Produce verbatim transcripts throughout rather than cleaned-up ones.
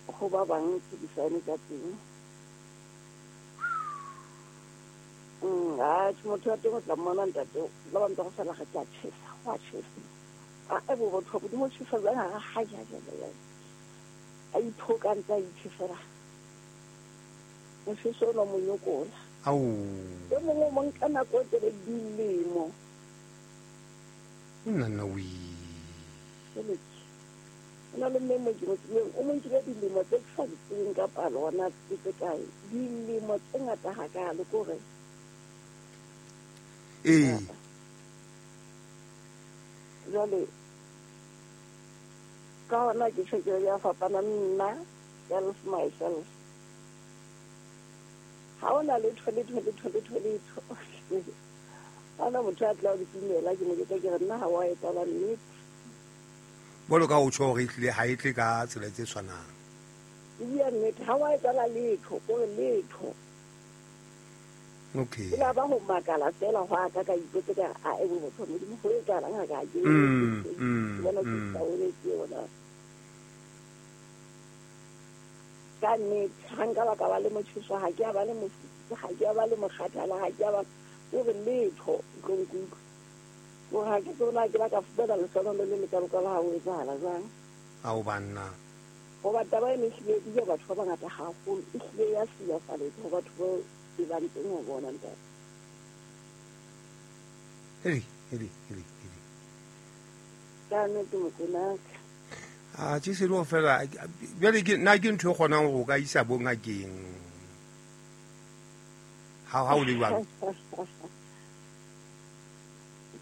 Go ba bang ke di-sign tsa teng. Mm, a motho wa teng o tla mmona ntate, ba bang ba go sala ga ke a tjhesa, go a tjhesa. A e bo botho bo mo tjhesa jwang ha ha ja ja ja. A ithoka ntse a itjhesela. Motjheso o mo nyokola. Au. E mongwe o mo nka nako e telele dilemo. Nna nna we. O na le mme mo ke mo tsebileng, o mo nkile dilemo tse ke sa di tsebeng ka palo hona ke tse kae. Dilemo tse ngata hakalo ke hore. Ee. Jwale ka hona ke tjho ke ya fapana nna self myself. Ha ona letho letho letho letho letho. Ana motho a tla o dumela ke mo ke ke re nna ha wa etsahala nnete. Bolo ka o tjho hore ehlile ha e tle ka tsela tse tshwanang. E bua nnete ha wa etsahala letho, o re letho. Okay. Ke la ba ho makala fela ho aka ka ipotsa ka a e bo motho Modimo ho etsahalang ha ka ke. Mm, mm, Bona ke mm. sa o ne ke ona. Ka nnete ha nka ba ka ba le motjheso ha ke a ba le mofuthu, ha ke a ba le mokgathala, ha ke a ba o re letho tlo nkutlwa. Ko ha ke tsona ke ba ka fumana lehlonolo le le kalokalo ha o etsahala jwang. Ao banna. Hoba taba ena ehlile e bile batho ba bangata haholo, ehlile ya silafaletsa ho batho bao e bang teng ho bona ntate. Hei, hei, hei, hei. Ka nnete Mokoena. A tje se lo fela jwale ke nna ke ntho e kgonang hore o ka isa bo ngakeng. Ha ha o le jwalo.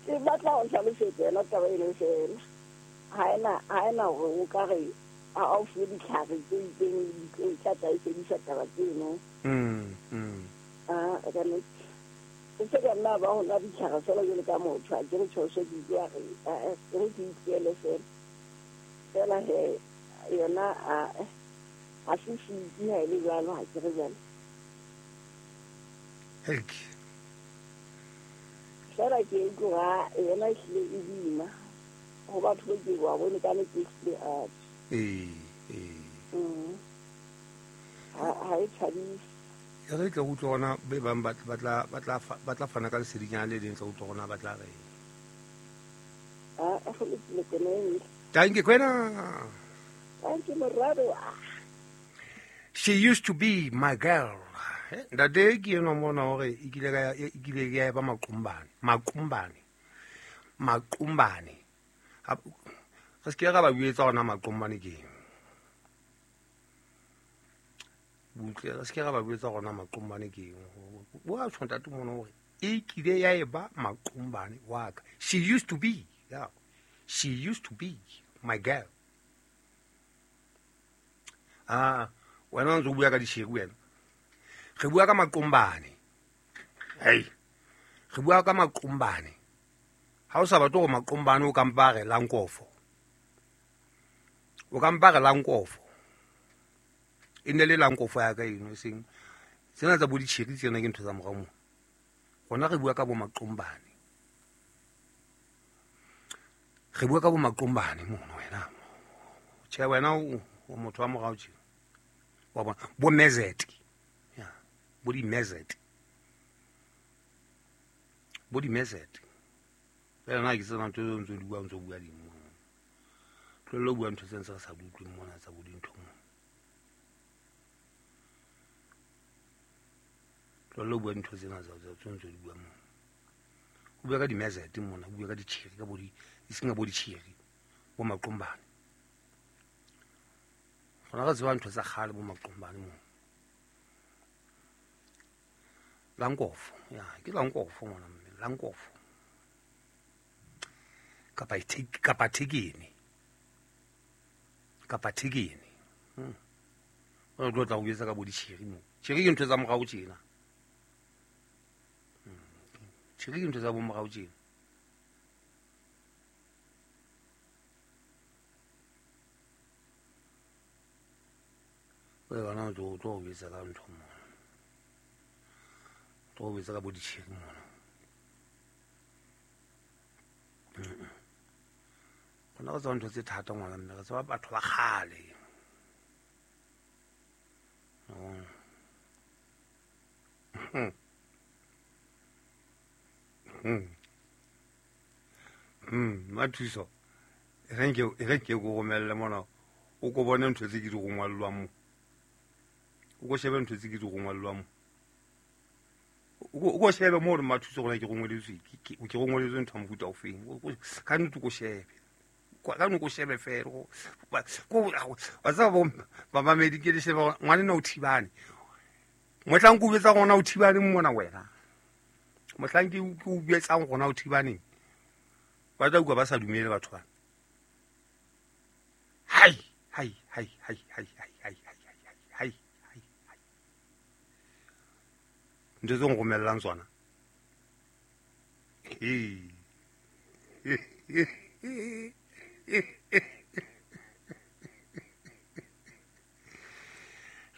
Ke batla ho hlalosetsa yona taba eno fela. Ha ena ha ena hore o ka re ha o fuwe ditlhare tse itseng di tla tla e fedisa taba tseno. Mm, mm. Ah, ka nnete. E se ka nna ba ho nwa ditlhare fela jwalo ka motho, ha ke re tjho se ke utlwa re, eh, ke re ke itlohele fela. Fela he yona a ha se siki ha e le jwalo, ha ke re jwalo. Helk. Fela ke utlwa yona ehlile e boima ho batho ba ke wa bone ka nnete ehlile a Ee, ee. Mm. Ha ha e thabise. E re tle utlwe hona be bang ba ba tla ba tla ba tla fana ka lesedinyana le leng tla utlwa hona ba tla re. Ah, go lokile Kwena e. Thank you, Kwena. Thank you, Morado. She used to be my girl. Ntate ke enwa mona hore e kile ka e kile ya ba maqumbane, maqumbane. Maqumbane. Re se ke ra ba buetsa hona maqumbane ke eng. Butle re se ke ra ba buetsa hona maqumbane ke eng. Wa tjho ntate mona hore e kile ya eba maqumbane wa ka. She used to be, yeah. She used to be my girl. Ah, wena o ntse o bua ka disheri wena. Re bua ka maqumbane. Hey. Re bua ka maqumbane. Ha o sa batle hore maqumbane o ka mpa re lankofo. O ka mpa re lankofo. E ne le lankofo ya ka eno e seng tsena tsa bo ditjheri tsena ke ntho tsa morao mo. Rona re bua ka bo maqumbane. Re bua ka bo maqumbane mono wena. Tjhe wena o motho wa morao tje. Wa bona bo mezet. Ya, bo di mezet. Bo di mezet. Fela nna ke tsena ntho tseo ntse di bua ntse bua dimo. Tlohella ho bua ntho tse ntse re sa di utlweng mona tsa bo dintho mona. Tlohella ho bua ntho tsena tsa tse ntse di bua mona. O bua ka di mezet mona, o bua ka ditjheri ka bo di e seng ka bo ditjheri, bo maqumbane. Rona re tseba ntho tsa kgale bo maqumbane mona. Lankofo, ya, ke lankofo ngwana mme, lankofo. Kapa thek kapa thekene. Kapa thekene. Hmm. O tlo tla o etsa ka bo ditjheri mo. Tjheri ke ntho tsa morao tjena. Hmm. Tjheri ke ntho tsa bo morao tjena. O yona o tlo tlo o etsa ka ntho mo. Tlo o etsa ka bo ditjheri mona. Rona re tseba ntho tse thata ngwana mme, re tseba batho ba kgale. Hmm. Hmm. Hmm, Mathuso. E re nke e re nke go romelle mona. O ko bone ntho tse ke di rongwallwang mo. O ko shebe ntho tse ke di rongwallwang mo. O ko shebe mo re Mathuso gona ke rongweletswe ke ke rongweletswe ntho mofuta o feng. Ka ntse ko shebe. Ka no ko shebe fela go ko wa tsaba bo mamedi ke le shebe ngwane na o thibane. Mohlang ke o betsa gona o thibane mona wena. Mohlang ke o betsang gona o thibane. Ba tla utlwa ba sa dumele batho ba. Hai hai hai hai hai hai hai hai hai hai hai. Ntho tse nromellang tsona. Ee.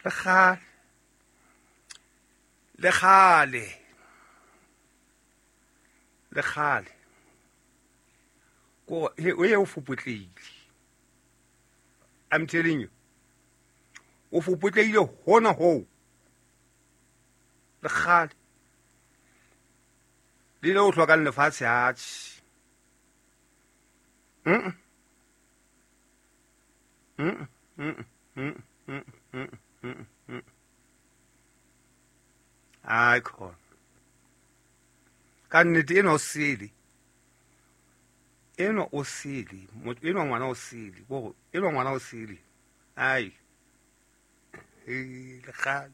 Le kgale. Le kgale. Le kgale. Ko he o ye o fopotleile. I'm telling you. O fopotleile hona ho. Le kgale. Le le o hlokang lefatshe atjhe. Mm. Mm mm mm mm mm mm mm. Ai khona. Ka nnete eno o sele. Eno o sele, motho eno ngwana o sele, bo eno ngwana o sele. Ai. E le kgale.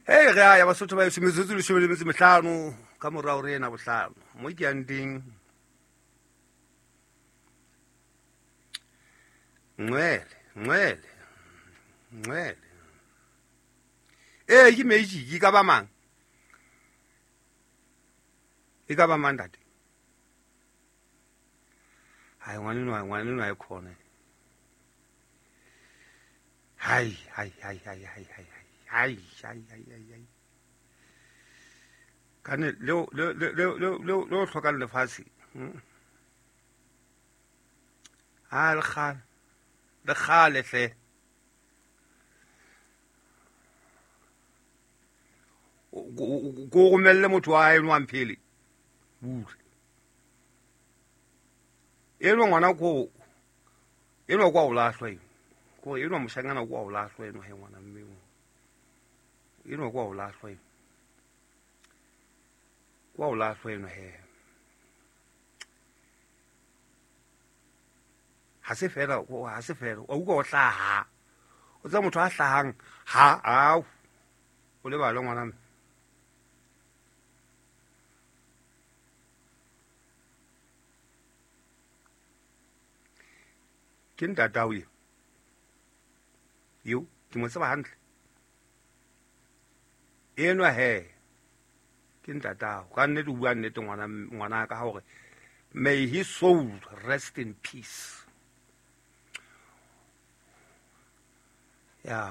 Hey re a ya Basotho ba metsotso leshome le metso mehlano ka morao re ena bohlano. Mo ke yang teng. Ngwele, ngwele. Ngwele. Eh ke magic e ka ba mang? E ka ba mang ntate? Hai ngwane no ngwane no e khona. Hai hai hai hai hai hai hai hai hai hai hai. Kane leo leo leo leo leo leo hlokang lefatshe. Ha le kgale. Le kgale hle. Ko romelle motho wa hae no amphele. Butle. Eno ngwana ko eno kwa o lahlwa eno. Ko eno moshanyana kwa o lahlwa eno he ngwana mme o. Eno kwa o lahlwa eno. Kwa o lahlwa eno he. Ha se fela ha se fela o utlwa o hlaha. O tsa motho a hlahang ha au. O lebala ngwana mme. Ke ntatao eo. Eo ke mo tseba hantle. Enwa he ke ntatao. Ka nnete o bua nnete ngwana ngwana ka hore may his soul rest in peace. Ya